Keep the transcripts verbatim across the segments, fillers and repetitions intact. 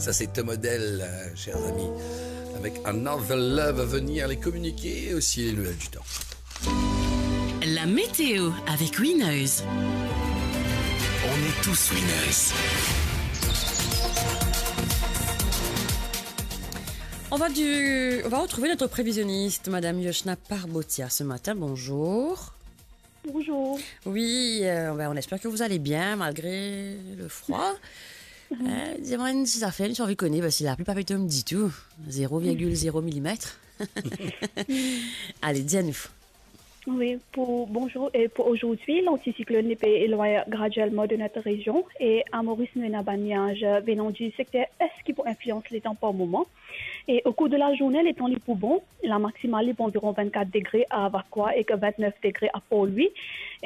Ça, c'est Tom Odell, euh, chers amis. Avec Another Love à venir, les communiqués et aussi les nouvelles du temps. La météo avec Winners. On est tous winners. On va du, on va retrouver notre prévisionniste, Madame Yoshna Parbotia, ce matin. Bonjour. Bonjour. Oui, euh, ben, on espère que vous allez bien malgré le froid. Hein, dis-moi une petite affaire, si vous connaissez, parce que la pluie pas tombe du tout. Zéro virgule zéro millimètre. Allez, dis à nous. Oui, pour, bonjour. Et pour aujourd'hui, l'anticyclone peut éloigner graduellement de notre région et à Maurice, nous avons un nuage venant du secteur est qui peut influencer les temps par moment. E o kour de lazourne, letan li pou bon, la maksimal li pou anviron vennkat degre a Vacoas ek vennef degre a Port-Louis.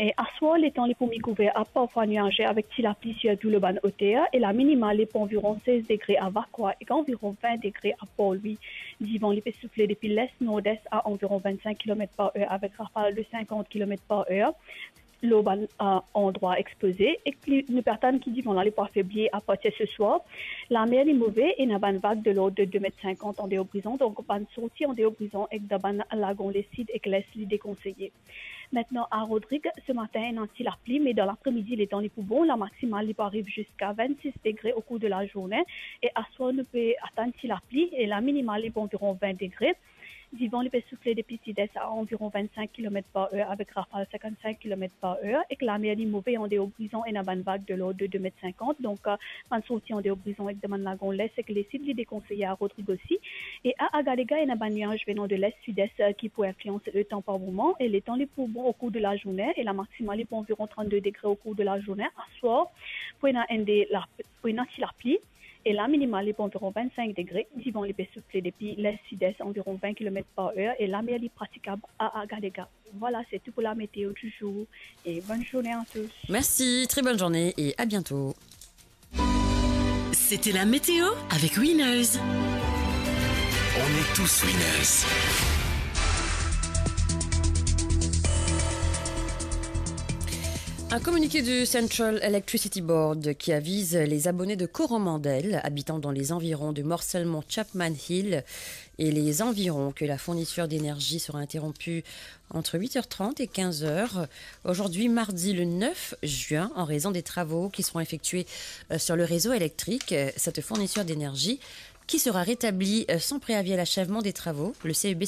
E aswar, letan li pou mikouver a parfwa niaze avek ti lapli sirtou lor bann oter, e la minimal li pou anviron sez degre a Vacoas ek anviron vin degre a Port-Louis. Divan li pe soufle depi les nordes a anviron vennsenk kilomet par er avek rafal de senkant kilomet par er. Lor bann, euh, andrwa expoze, ek li, nou pe atann ki divan la li pou afebli apartir seswar. Lamer li move, ena bann vag de lord de de met senkant andeor Brizon, donk bann sorti andeor Brizon ek dan bann lagon lesid ek les li dekonseye. Aster a Rodrig, se matin ena ti lapli, me dan lapremidi letan li pou bon, la maksimal li pou ariv ziska vennsis degre o kour de lazourne, e aswar nou pe atann ti lapli, e la minimal li pou anviron vin degre. Divan li pe soufle depi sides a anviron vennsenk kilomet par er avek rafal senkann-senk kilomet par er, ek lamer li move. Andeor Brizon ena bann vag de lord de de met senkant, donk, euh, bann sorti andeor Brizon ek dan bann lagon les ek lesid li dekonseye a Rodrig osi. E a Agalega ena bann niaz venan de les sides, euh, ki pou inflians letan par moman, e letan li pou bon o kour de lazourne, e la maksimal li pou anviron trannde degre o kour de lazourne. Aswar, pou ena enn de la, pou ena ti lapli, e la minimal li pou anviron vennsenk degre, divan li pe soufle depi les sides anviron vin kilomet par er, e lamer li pratikab a Agalega. Voilà, c'est tout pour la météo du jour, et bonne journée à tous. Merci, très bonne journée et à bientôt. C'était la météo avec Winners. On est tous winners. Un communiqué du Central Electricity Board qui avise les abonnés de Coromandel, habitant dans les environs de Morcellement Chapman Hill et les environs, que la fourniture d'énergie sera interrompue entre huit heures trente et quinze heures aujourd'hui, mardi le neuf juin, en raison des travaux qui seront effectués, euh, sur le réseau électrique. Euh, cette fourniture d'énergie qui sera rétablie, euh, sans préavis à l'achèvement des travaux. Le C E B